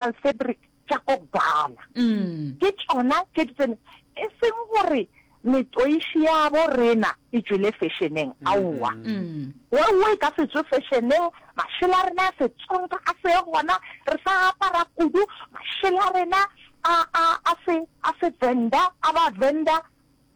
Fabric tša ko Ghana. Ke tšona tše di tsene, e seng gore metoiši ya bo rena e tšwele fešeneng, aowa. Wewe e ka se tšwe fešeneng, mašela a rena a Setsonga a se gona, re sa apara kudu mašela a rena a, a, a se, a Sevenda, a Bavenda,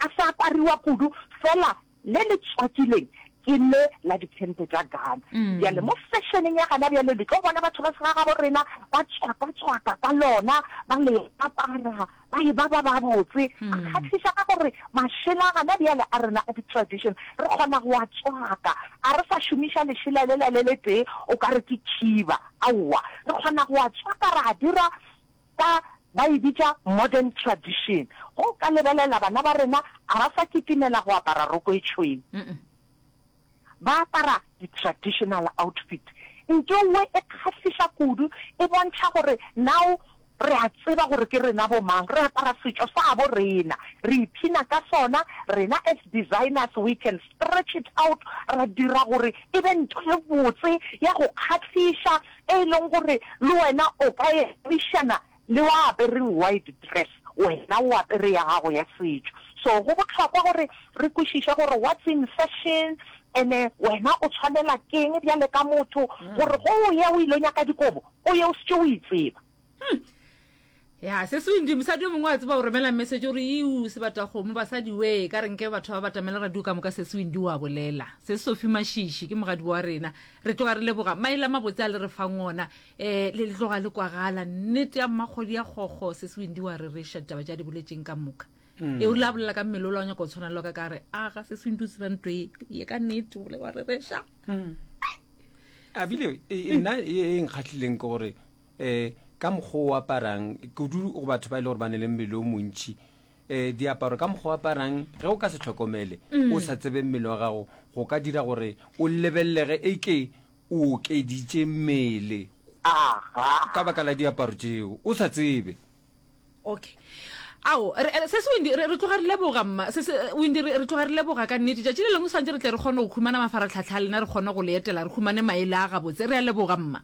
a sa apariwa kudu, fela Le le tswakileng ke le la dikhempe tša Ghana. Bjale mo fešeneng ya gana bjale le tlo bona batho ba segagabo rena ba tswaka-tswaka ka lona, ba le apara, ba e ba ba babotse. A kgahliša ka gore mašela a gana bjale a rena a di-tradition re kgona go a tswaka. A re sa šomiša lešela lela le letee o ka re ke khiba, aowa. Re kgona go a tswaka ra a dira Ka, ba e bitša modern tradition. Ge o ka lebelela bana ba rena, ga ba sa kitimela go apara roko e tšhweu. Ba apara di-traditional outfit. Ntho nngwe e kgahliša kudu, e bontšha gore now re a tseba gore ke rena bo mang. Re apara setšo sa bo rena, re ipshina ka sona. Rena as designers we can stretch it out, ra dira gore e be ntho e botse ya go kgahliša, e leng gore le wena o ka emišana le wa apereng white dress, wena o apere ya gago ya setšo. So go bohlokwa gore re kwešiše gore what's in fashion ene wena o tshwanela keng bjale ka motho gore ge o ya o ilo nyaka dikobo o ye o šetše o itseba. Ya, se se mosadi yo mongwe a tseba o romela message o re iu sebatakgomo basadi we ka re nke batho ba batamela radio ka moka se se Windy wa bolela se Sophie Mashishi ke mogadi wa rena re tloga re leboga maele a mabotse a le re fang ona eh le le tloga le kwagala nnete ya mmakgodi ya kgokgo se se Windy wa rereša ditaba tša di boletseng ka moka mm. e o rile a bolela ka mmele o la o nyaka go tshwana le ka ka re aga se se Windy o tseba ntho e ye ka nnete o wa rereša mm. a bile e, e, nna e, e nkgatlhileng ke gore um ka mokgwa o aparang kudu go batho ba e le gore ba ne le mmele o montšhi um diaparo ka mokgwa o aparang ge o ka se tlhokomele mm. o sa tsebe mmele wa gago go ka dira gore o lebelelege e ke o okeditše mmele ka baka la diaparo tšeo o sa tsebe okay ao se se Wendy re tloga re leboga mma se se Wendy re tloga re leboga ka nnete tšatši le lengwe santse re tle re kgone go khumana mafaratlhatlha a lena re kgone go le etela re khumane maele a gabotse re a leboga mma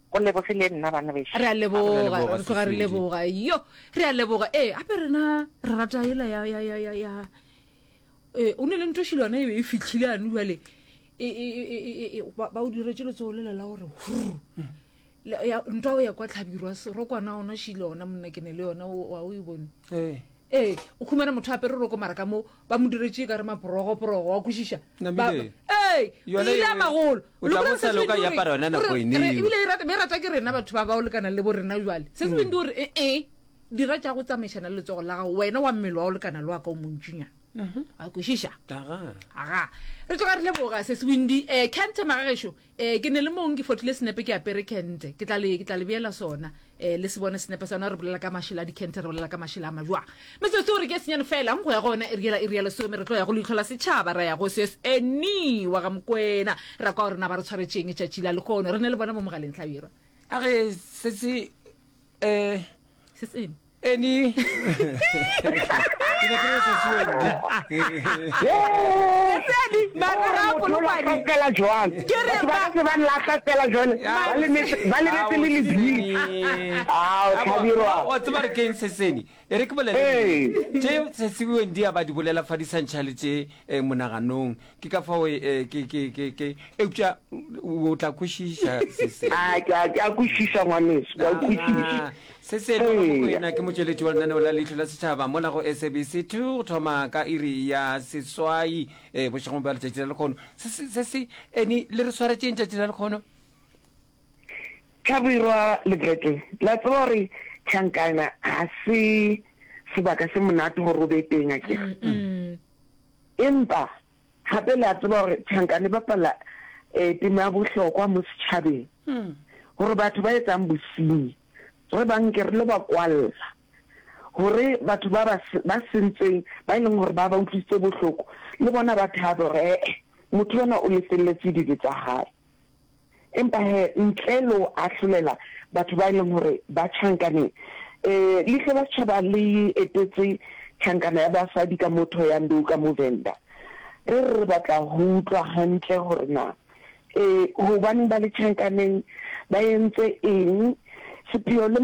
Go lebogile nna bana bešo. Re a leboga, re tloga re leboga. Yo, re a leboga. Ee, gape rena re rata ela ya ya ya ya ya. Ee, o ne le nto šilwana e be e fitlhile anu jale. E e e e ba o diretse letsogo lela la gore hur. Ya ntwa o ya kwa tlhabirwa rokwana ona šile ona monna ke ne le yona wa o e bone. Ee. Ee, o khumana motho a apere roko mara ka mo ba mo diretše ka re maporogoporogo wa kwešiša. Namile. Ee, Yona ile e- a magolo. o tla bo sa loka e apara yona nako ene eo. Ebile e rata, be rata ke rena batho ba ba o lekana le bo rena jwale. Se se beng di gore ee, ee, dira tša go tsamaišana le letsogo la gago wena wa mmele wa o lekana le wa ka o montšinyana. Wa kwešiša? Aga. Aga. Re tloga re leboga se se windi eh Kente magagešo eh ke ne le mong ke fotile senepe ke apere kente ke tla le ke tla le beela sona eh le se bone senepe sa yona re bolela ka mašela a dikente re bolela ka mašela a majwa metsotso gore ke senyane fela go ya go yona iri yela iri ya lesome re tlo ya go leihlo la setšhaba ra ya go ses eni wa ga mokwena ra kwa gore na ba re tshwaretšeng tšatši la lehono re ne le bona mo mogaleng hlabirwa A re se se eh se se Eni. Ke ne ke re se se Wendy. Sesedi, mara Motho o Polokwane. lahla jwang? Ke re Batho ba ba- ka se ba lahla fela jwale. Ba lemetse ba lebetse le lebitso. Ao, Hlabirwa. Wa tseba re keng seseni e re ke bolele Ee. tše sesi Wendy a ba di bolela fa di sa ntšhale tše eh, monaganong ke ka fao eh, ke ke ke ke eupša o tla kwešiša seseni A ke a ke a kwešiša ngwaneso, ke a kwešiša. Se se etwa Mokoena ke motšweletši wa lenaneo la Leihlo la Setšhaba mola go SABC 2 go thoma ka iri ya seswai eh, bošegong bja letšatši la lekgono. Se se se se eni le re swaretšeng tšatši la lekgono? Hlabirwa le Brete, la tseba gore tšhankana ga se sebaka se monate gore o be teng akere? Empa Gape le a tseba gore tšhankana e bapala tema ya bohlokwa mo setšhabeng, gore batho ba etsang bosenyi re ba nke re lo ba kwalla, gore batho ba ba ba sentseng ba e leng gore ba ba utlwisitse bohloko le bona ba thabe gore ee motho ona o lefelletse dibe tsa hae. Empa he, ntle le ho ahlolela batho ba e leng hore ba tjhankaneng, eh, leihlo la setjhaba le etetse tjhankana ya basadi ka mo Thohoyandou ka mo Venda. Re re re batla ho utlwa hantle hore na, eh, hobaneng ba le tjhankaneng, ba entse eng. Sepheo le.